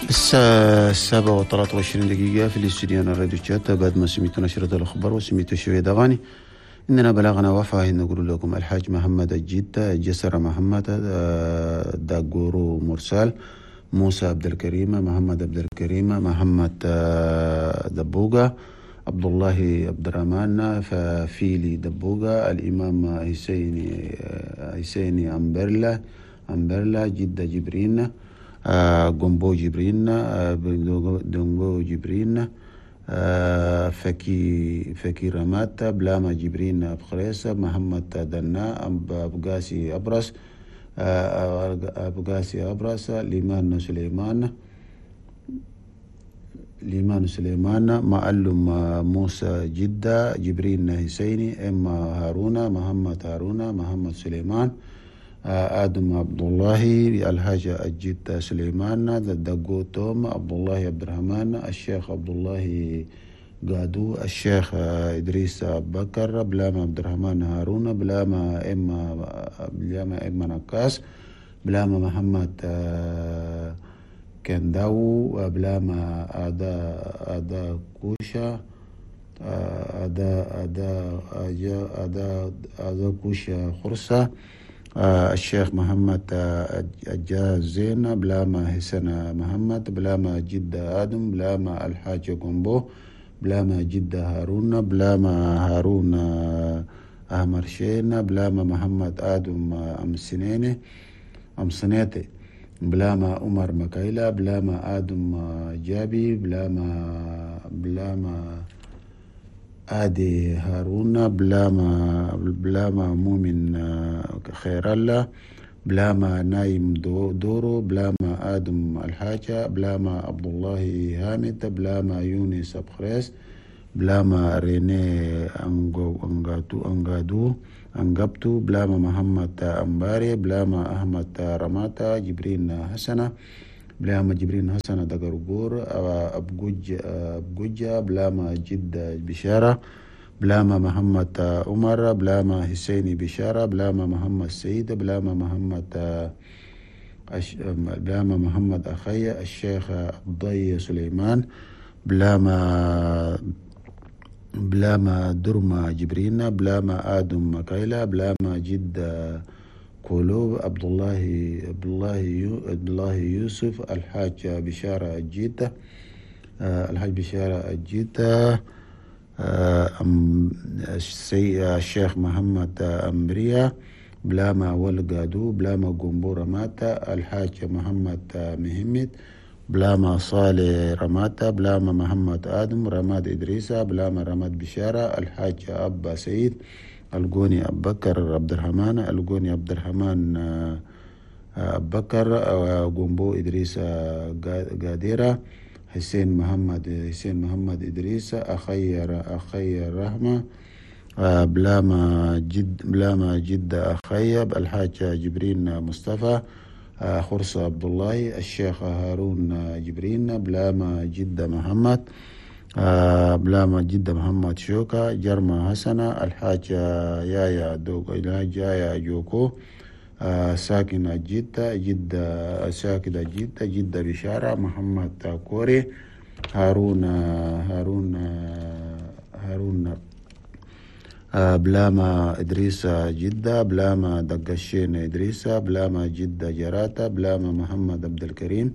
الساعة 7:23 في الاستوديو الراديو تشات. بعد ما سمعتوا نشرة الأخبار وسمعتوا شوية أغاني، إننا بلغنا وفاة نقول لكم الحاج محمد الجدة، جسر محمد، داغورو مرسال، موسى عبد الكريم، محمد عبد الكريم، محمد دبوغا، عبد الله عبد الرحمن، فيلي دبوغا، الإمام حسيني أمبرلا، جدة جبرين، جومبو جبرين، دونغو جبرين، فكي رماتا، بلاما جبرين أبخريسة، محمد دنا، أبقاسي أبرس، ليمان سليمان، معلم موسى جدة، جبرين حسيني، إما هارونا، محمد هارونا، محمد سليمان، آدم عبد الله، الحاج الجد سليمان، دقو توم، عبد الله عبد الرحمن، الشيخ عبد الله قادو، الشيخ إدريس بكر، بلاما عبد الرحمن هارون، بلاما إما نكاس، بلاما محمد كنداو، بلاما أدا كوشا، أدا أدا أدا أدا كوشا خرسة، الشيخ محمد الجازين، بلاما حسن محمد، بلاما جدة آدم، بلاما الحاج قنبو، بلاما جدة هارون، بلاما هارون أحمر شين، بلاما محمد آدم أم سنيتي، بلاما عمر مكايلة، بلاما آدم جابي، بلاما آدي هارون، بلاما مؤمن خير الله، بلاما نايم دورو، بلاما آدم الحاجة، بلاما عبد الله هامد، بلاما يونس أبخريس، بلاما ريني أنغادو أنغبتو، بلاما محمد أمباري، بلاما أحمد رماتا، جبرين حسنة، بلاما جبرين حسنة دقرقور، أبجوجة، بلاما جدة بشارة، بلاما محمد عمر، بلاما حسيني بشارة، بلاما محمد سيد، بلاما محمد أخي، الشيخ الضي سليمان، بلاما درما جبرين، بلاما آدم مكايلة، بلاما جدة كولوب، عبد الله يوسف، الحاج بشارة الجيتة، الشيخ محمد أمبريا، بلاما والقادو، بلاما قنبو رماتا، الحاج محمد مهمد، بلاما صالح رماتا، بلاما محمد آدم، رماد إدريسة، بلاما رماد بشارة، الحاج أبا سعيد، القوني أبو بكر عبد الرحمن، القوني عبد الرحمن أبو بكر، قنبو إدريس قاديرة، حسين محمد إدريس، أخي رحمة، بلاما جدة أخيب، الحاج جبرين مصطفى، خرصة عبد الله، الشيخ هارون جبرين، بلاما جدة محمد، بلاما جدة محمد شوكا، جرما حسنة، الحاج يايا دوغ، الحاج يايا جوكو، ساكنة جدة، جدة ساكنة جدة، جدة بشارة، محمد كوري، هارون بلاما إدريس جدة، بلاما دقشين إدريس، بلاما جدة جراتا، بلاما محمد عبد الكريم،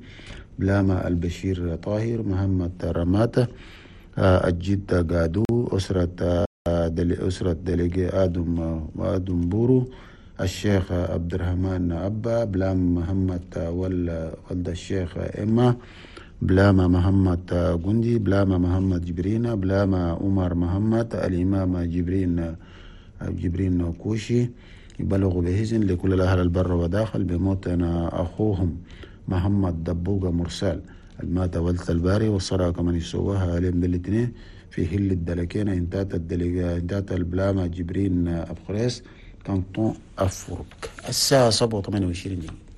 بلاما البشير طاهر، محمد رماتة، الجدة قادو، أسرة دليجي آدم بورو، الشيخ عبد الرحمن أبا، بلاما محمد ولد الشيخ إما، بلاما محمد جندي، بلاما محمد جبرين، بلاما عمر محمد، الإمام جبرين كوشي. يبلغ بهزن لكل الأهل البر وداخل بموتنا أخوهم محمد دبوغة مرسال المات ولد الباري، والصلاة كمان يسووها عليهم بالاثنين في هل الدلكين انتات البلاما جبرين أبخريس كانتون أفورك. الساعة 7:28.